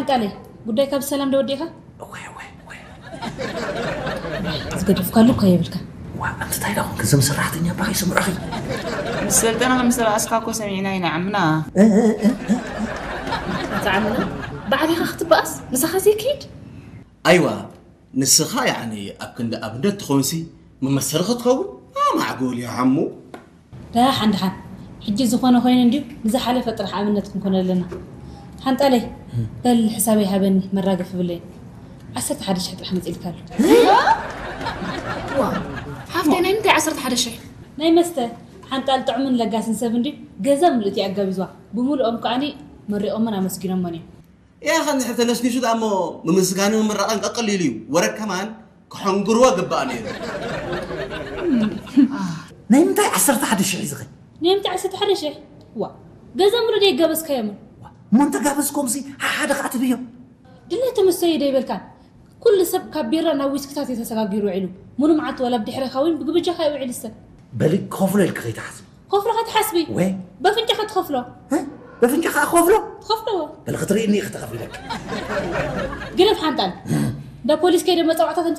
ቃለይ፣ ጉዳይ ካብ ሰላም ዶ ወዲእካ? ወይ ወይ ወይ ዝገደፍካሉ እኳ የብልካ። ዋ፣ እንታይ ዳ ኮንክ? እዞም ሰራሕተኛ ባይ ስምዑኺ። ምስ ሰልጠና ምስ ተባኣስካ እኮ ሰሚዕና ኢና ዓምና። ኣታ ዓምና፣ ባዕልኻ ክትበኣስ ምሳኻ ዘይክይድ? ኣይዋ፣ ንስኻ ያኒ ኣብ ክንዲ ኣብነት ትኾንሲ፣ መመሰሪ ክትኸውን ኣማዕጎል እዩ ሓሙ። ደሓን ደሓን፣ ሕጂ ዝኾነ ኮይኑ እንድዩ፣ ንዝሓለፈ ጥራሕ ኣብነት ክንኮነ ኣለና። ሓንጣለይ፣ በል ሕሳበይ ሃበኒ፣ መራገፊ ብለይ። ዓሰርተ ሓደ ሽሕ ጥራሕ መፂልካ ኣሎ። ሓፍተይ፣ ናይ ምንታይ ዓሰርተ ሓደ ሽሕ? ናይ መስተ ሓንጣል ጥዑምን ለጋስን ሰብ እንድዩ፣ ገዛ ምልእቲ ኣጋቢዝዋ። ብምልኦም ከዓኒ መሪቖምን ኣመስጊኖምን እዮም። ያ ኸንድሕር ተነስኒሱ ደኣ እሞ፣ ምምስጋንን ምምራቕን ቀቀሊሉ እዩ። ወረ ከማን ክሐንግርዎ ግባእ ነይሩ። ናይ ምንታይ ዓሰርተ ሓደ ሽሕ እዩ ዝኸ? ናይ ምንታይ ዓሰርተ ሓደ ሽሕ? ዋ፣ ገዛ ምሉእ ደይ ጋበዝካዮምን? እሞ እንተጋበዝኮምሲ ሓሓደ ከዓ ትብዮም። ድለ ተመሰዩ ደይበልካን? ኩሉ ሰብ ካብ ቢራ ናብ ዊስክታት እዩ ተሰጋጊሩ ውዒሉ። ሙሉ መዓልቲ ዋላ ብድሕረኻ እውን ብግብጃኻ ይውዕል ዝሰብ። በሊ ክኸፍሎ ኢልክ ከይትሓስብ። ከፍሎ ከትሓስቢ። ወይ? በፍንጫኻ ትኸፍሎ። በፍንጫኻ ክኸፍሎ? ትኸፍሎ። በሊ ክትርእኒ ኢኺ ተኸፊለክ። ግደፍ ሓንጣል። እንዳ ፖሊስ ከይደ መፀዋዕታ ተምፅእ